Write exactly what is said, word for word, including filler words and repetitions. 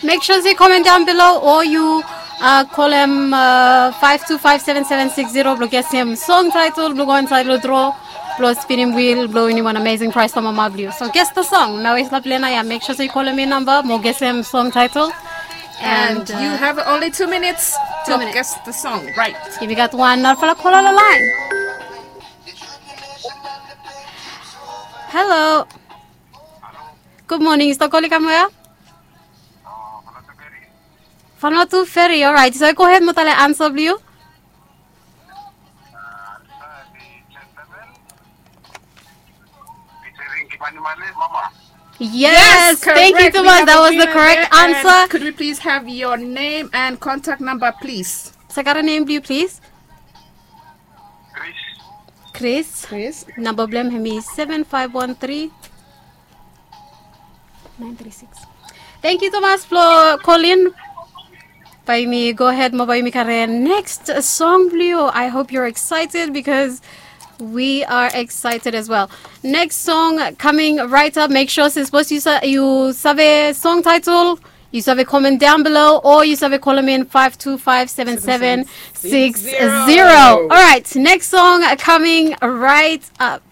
Make sure se yu comment down below o yu uh, kolem uh, five two five seven seven six zero blong gesim song title blong go inside long draw blong spinim wheel blong winim wan amazing prize from mama blong yu. So guess the song. Nao yu stap lena ya, make sure se yu kolem mi namba mo gesim song title. And you have only two minutes to minutes. Guess the song, right? Yumi gat wan narafala kola long lain. Hello. Good morning. Yu stap kolem from where? Vanuatu Ferry. Alright. So go ahead mo talem ansa blong yu. Yes, thank you tumas. That was the correct answer. Could we please have your name and contact number, please? Sagarra, name blong yu please. Chris. Chris. Namba blong hem hemi seven five one three nine three six. Thank you tumas blong kolin. Bae yumi go ahead mo bae yumi karem next song blong yu. I hope you're excited because we are excited as well. Next song coming right up. Make sure se sapos yu sa- yu save song title, yu save comment down below o yu save kolem in five two five seven seven six zero. Alright, next song coming right up.